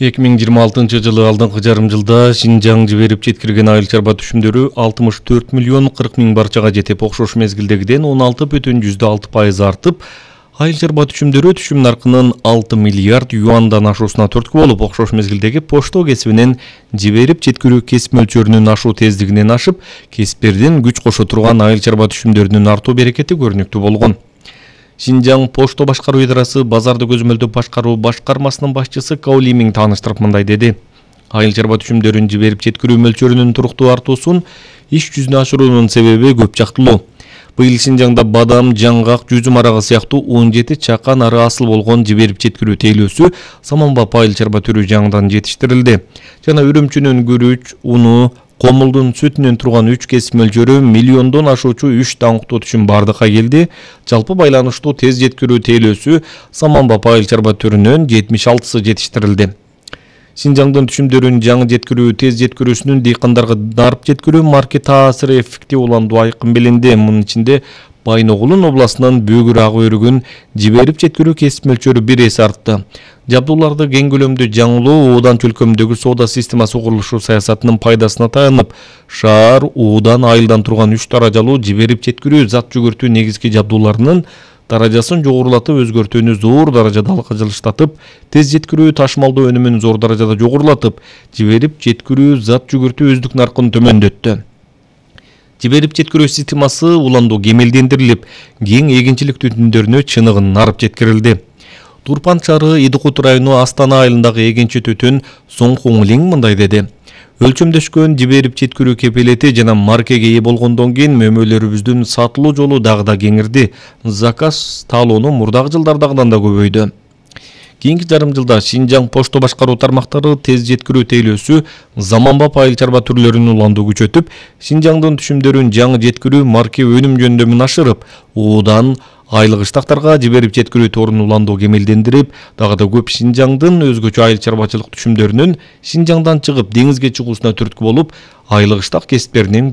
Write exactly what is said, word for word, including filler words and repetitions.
эки миң жыйырма алтынчы жылы алдыңкы жарым жылда Шинжаң жиберип жеткирген айыл чарба түшүмдөрү алтымыш төрт миллион кырк миң барчага жетип, окшош мезгилдегиден он алты бүтүн жүздө алты пайыз артып, айыл чарба түшүмдөрү түшүм наркынын алты миллиард юандан ашуусуна түрткү болуп, окшош мезгилдеги пошто кесибинен жиберип жеткирүү кесип мөлчөрүнүн ашуу тездигинен ашып, кесиптердин күч кошо турган айыл чарба түшүмдөрүнүн артуу берекети көрүнүктүү болгон. Шинжаң пошто башкаруу идарасы базарды көзөмөлдөп башкаруу башкармасынын башчысы Каули Миң тааныштырып мындай деди. Айыл чарба түшүмдөрүн жиберип жеткирүү мөлчөрүнүн туруктуу артуусун иш жүзүнө ашыруунун себеби көп жактылуу. Быйыл Шинжаңда бадам, жаңгак, жүзүм арагы сыяктуу он жети чакан ары асыл болгон жиберип жеткирүү тейлөөсү саманбап айыл чарба түрү жаңыдан жетиштирилди. Жана үрүмчүнүн күрүч, уну, комулдун сүтүнөн турган үч кесип мөлчөрү миллиондон ашуучу үч даңктуу түшүм бардыкка келди. Жалпы байланыштуу тез жеткирүү тейлөөсү саманбап айыл чарба түрүнөн жетимиш алтысы жетиштирилди. Шинжаңдын түшүмдөрүн жаңы жеткирүү тез жеткирүүсүнүн дыйкандарга дарып жеткирүү марке таасиры эффектив уландуу айкын билинди. Мунун ичинде Байногулун областынын Бөгүр ак өрүгүн жиберип жеткирүү кесип мөлчөрү бир эсе артты. Жабдууларды кең көлөмдүү жаңылоо уудан чөлкөмдөгү соода системасы курулушу саясатынын пайдасына таянып, шаар уудан айылдан турган үч даражалуу жиберип жеткирүү зат жүгүртүү негизги жабдууларынын даражасын жогорулатып, өзгөртүүнү зор даражада алкажылыштатып, тез жеткирүү ташымалдоо өнүмүн зор даражада жогорулатып, жиберип жеткирүү зат жүгүртүү өздүк наркын төмөндөттү. Жиберип жеткирүү системасы уландуу кемелдендирилип, кең эгинчилик түтүндөрүнө чыныгын арып жеткирилди. Турпан шаары Идыкут району Астана айылындагы эгинчи түтүн Соң Хуңлиң мындай деди. Өлчөмдөшкөн жиберип жеткирүү кепилети жана маркеге ээ болгондон кийин мөмөлөрүбүздүн сатылуу жолу дагы да кеңирди. Заказ талоonu мурдагы жылдардагыдан да көбөйдү. Кийинки жарым жылда Шинжаң пошто башкаруу тармактары тез жеткирүү тейлөөсү заманбап айыл чарба түрлөрүн уландуу күчөтүп, Шинжаңдын түшүмдөрүн жаңы жеткирүү марке өнүм жөндөмүн ашырып, уудан айлык ыштактарга жиберип жеткирүү торун уландуу кемелдендирип, дагы да көп Шинжаңдын өзгөчө айыл чарбачылык түшүмдөрүнүн Шинжаңдан чыгып деңизге чыгуусуна түрткү болуп, айлык ыштак кесиптеринин